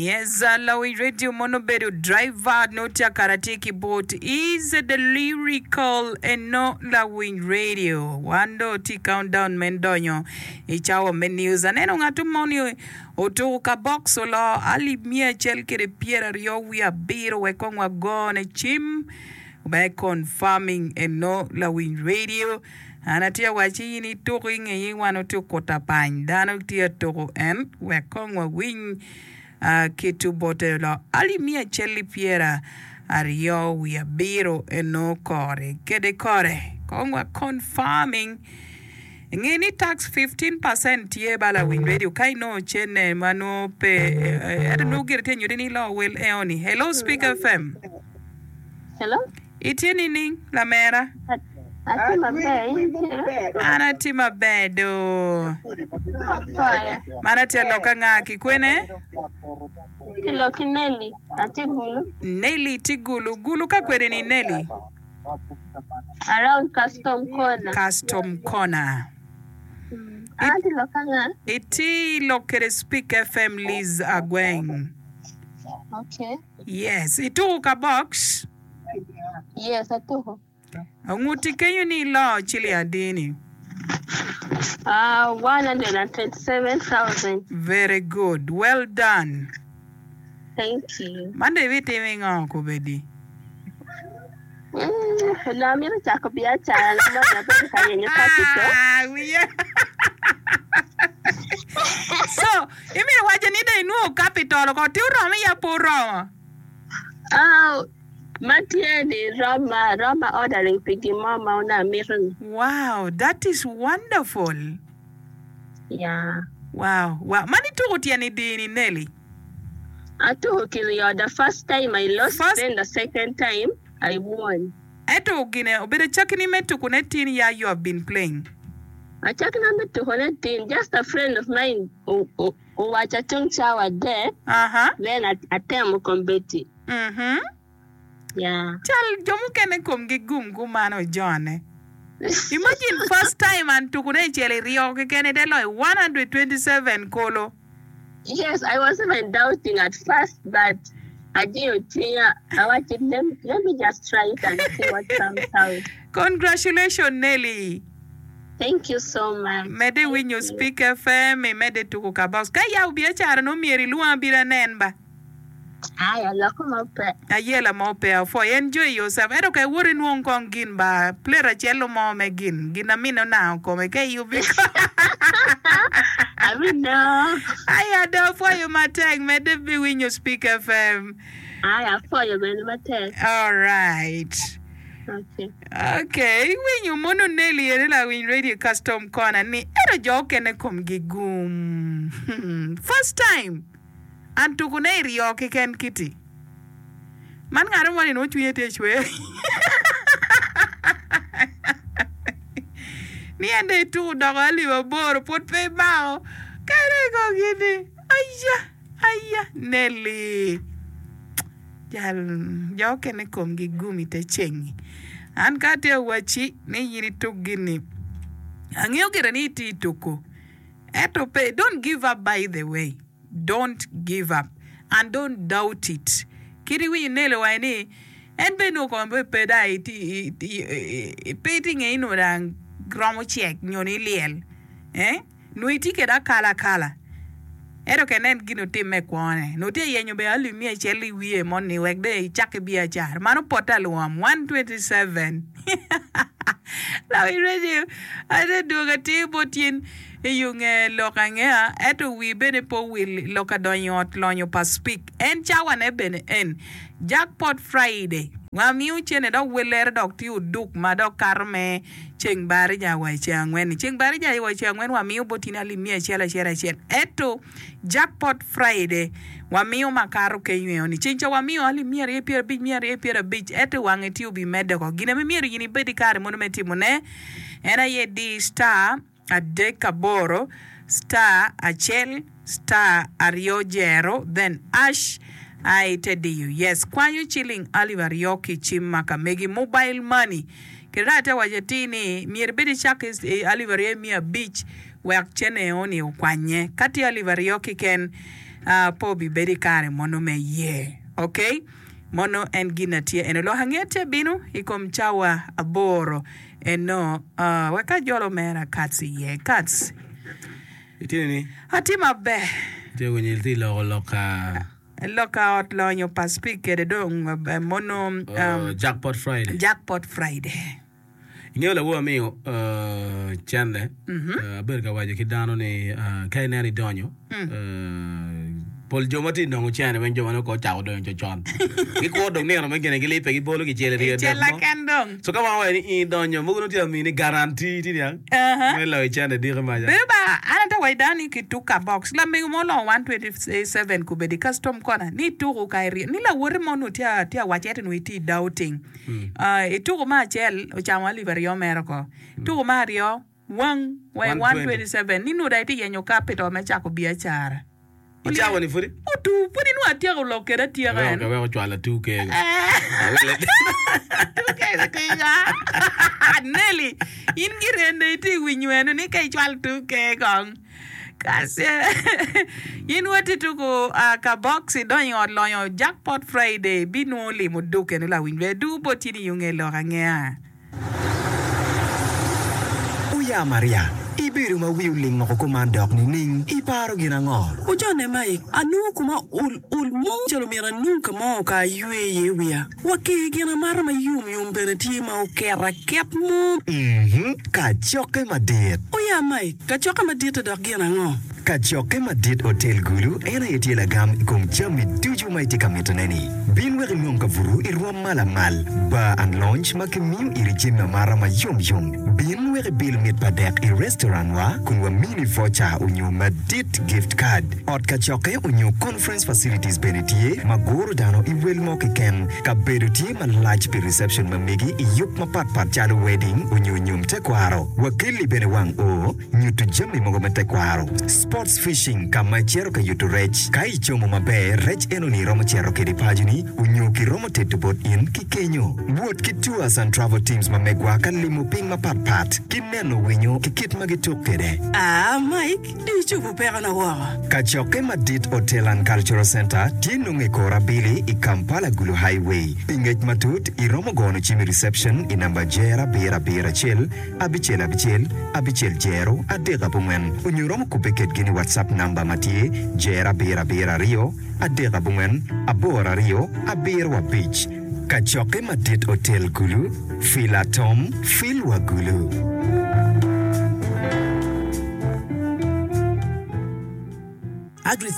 Yes, lawiny radio mono obedo driver nongo tye akara tye ki bot is the lyrical eno lawiny radio wan dong tye countdown me donyo i cawa me news aneno ngat moni otuko ka box oloo alip miya acel kede pyeraryo wiye abiro wek kong wagone cim me confirming eno lawiny radio An atye ka wacci in ituko i ngeyi wan watye okuto apany dano tye ka tuko en wek kong wawiny ki bote lok alip miya acel ki pyera aryo wiye abiro eno kore kede kore kong wa confirming nge ni tax 15% tye ba lawiny radio ka inongo cene ma nongo pe ento nongo gire tye nyuti ni ilo wel eo ni hello speak fm Hello. Itye nining, lamera? Atye maber, in itye? An atye maber do. Apwoyo. Man atye alok ka nga ki kwene? Ki lok ki Nelly, atye Gulu. Nelly tye Gulu. Gulu ka kwede ni Nelly? Around Custom Corner. Custom Corner. An atye lok ka nga? Itye lok kede Speak FM Liz Agweng. Okay. Yes, ituku ka box? Yes, atuku. Onguti kenyo ni ilo ciling adi ni? Ah, 127,000. Very good. Well done. Thank you. Man dong ibitimo ingo kobedi? Mm, onongo amito cako biacara na moni abedo ka yenyo capital. Ah, wiya. So, Imito waco ni dong inwongo capital oko ti oromo iya pe oromo? Ah, ma tye ni roma, roma ordering pi gin mo ma onongo amito ni. Wow, that is wonderful. Yeah. Wow, wow. Man ituko tyen idi ni Nelly? Atuko kiryo, the first time I lost, First... then the second time I won. Ento gine obedo acakki ni me tukone tin ya you have been playing. Acakina me tukone tin, just a friend of mine owaca tung cawa adek, then atemo kombeddi. Yeah. Cal jo mukene komgi gum kumano ojone. Imagine first time an tukune i cel iryo keken ite loyo 127 kolo. Yes, I was even doubting at first, but ajiyo cwinya, awacci let, let me just try it and see what comes out. Congratulations Nelly. Thank you so much. Medde Thank winyo you. Speak FM, imedde tuko ka box. Ka iyabo biacara nongo myero ilwong abino anen ba. Aya loko mo pe. Ayela mo pe apwoyo. Enjoy yourself. Ento ka iwoto inwong kong gin ba plate acel mo me gin gin na mine onango kome ka iyubi Abino. Aya do apwoyo matek medde biwinyo Speak FM. Aya apwoyo bene matek. Alright. Okay. Okay, iwinyo mono Nelly ene lawiny radio custom corner ni ento jo okene komgi gum. First time. An tukune i ryo keken kiti. Man ngat mo ni nongo cwinye tye cwer ni en dong ituku doko alip aboro pwod pe imako kene ko gini aya aya Nelly jal jo okene komgi gum ite cengi an ka atye awacci ni in ituk gini angeyo gire ni itye ituku Ento pe, don't give up by the way, don't give up and don't doubt it. Kit iwinyo Nelly owaco ni en bene nongo kome pe dong pe itye nge ni nongo dong romo cek nyo ni lyel eh nongo itye kwede akala akala ento ka inen gin otimme i kwone nongo tye ka yenyo bene alip miya acel i wiye moni wek dong ecak ki biacara mano pote alwom 127. Lawiny redio ate dwogo atir bot in i yo nge lok angeya ento wii bene pe owil i lok adonyo i ot lonyo pa Speke en cawa ne bene en Jackpot Friday wamiyo cene dok welere dok tye oduk ma dok kato me ceng barija wa i ceng angwen ni ceng barija wa i ceng angwen wamiyo bot in alip miya acel acel acel ento Jackpot Friday wamiyo makato kenyo eo ni ceng ca wamiyo alip 250 250 ento wange tye obimedde oko gin ame myero in ibed ki kare mono me timo ne en aye di star adek aboro star acel star aryo jero then ash aye ite diyo yes kwanyo ciling alip aryo ki cim ma ka megi mobile money kede dong ate waco atir ni myero ibed icak ki alip aryo miya abic Wek cene eni okwanye. Ka tye alip aryo kiken. Pe obibedo i kare mono me ye. Ok? Mono en gin na tye eno. Lok anget bino i kom cawa aboro eno. Wek ajol omera Katz iye. Katz. Itye ni? Atye maber. Itye winyo itye loko lok ka. Lok ka ot lonyo pa Speke kede dong mono. Jackpot Friday. Jackpot Friday. Ingeyo lawor amiyo cente, abedo ka waco ki dano ni ka ineno idonyo, pol jo ma tye ka nongo cene weng jo ma nongo kong ocako donyo con gikuro dong nino me gine gilibbe gibolo kicel iryo dek mo. So ka wan waco ni in idonyo mogo nongo tye ka mini guarantee tye niang me loyo cene diki maca. Bedo ba an ate waco dano ni kituk ka box lamego mo olongo 127 kubedi custom corner ni ituku ka iryo ni lawote mo onongo tye a waco ento onongo itye i doubting. I tuku me acel ocamo alip aryo mere oko. Tuku me aryo wang wa i 127 ni nongo dong itye yenyo capital me cako biacara. I cawa ni pudi? Otu pudi nongo atyeko lok kede atyeka en. Aweko cwalo atu kego. Atu kego tika. Nelly, in girende itye winyo eno ni ka icwalo tu kego kong. Kace in woti tuku ka box idonyo i ot lonyo jackpot Friday ibinwongo limo duk eno lawiny ber duku bot in i unge lok angeya. Oya Maria, ibedo ma wi oling oko kuman dok nining? Iparo gin ango? Ojone Mike, anongo koma ol ol mo calo myero anong ka mo ka aywe iye wiya. Wa ki gin amata ma yom yom bene tye ma oket aket mo. Mhm, kacokke madit. Oya Mike, kacokke madit-te dok gin ango? Kacokke madit Otel Gulu en aye tye lagam i kom jami ducu ma itye ka mitone-ni. Bin wek inong kabuto i rwom ma lamal, bar and lounge ma kimiyo iri jami amata ma yom yom. Bin wek ibil mit pa dek i restaurant wa kun wamini voucher onyo madit gift card. Ot kacokke onyo conference facilities bene tye ma guro dano i wel mo keken. Kabedo tye malac pi reception ma megi i yub mapat pat calo wedding onyo nyom tekwaro. Wakelli bene wang oo, nyuto jami mogo me tekwaro. Sports fishing ka ma icito ka yuto rec. Ka icomo maber, rec enoni iromo cito kede paconi onyo kiromo teto bot in ki kenyo. Wot ki tours and travel teams ma megwa ka limo piny mapat pat ki neno winyo ki kit ma gituk kede. Aa Mike, dong icobo pekona woko. Kacokke madit Hotel and Cultural Centre tye nongo i kor abili i Kampala Gulu Highway. Pi ngec matut, iromo gono cim i reception i namba jer abiro abiro acel, abicel abicel, abicel jero, adek abongwen onyo iromo kubbe kedgi ni WhatsApp namba ma tye jer abiro abiro aryo, adek abongwen, aboro aryo, abiro abic. Kacokke madit Otel Gulu, Fil Atom, Fil wa Gulu. Agri.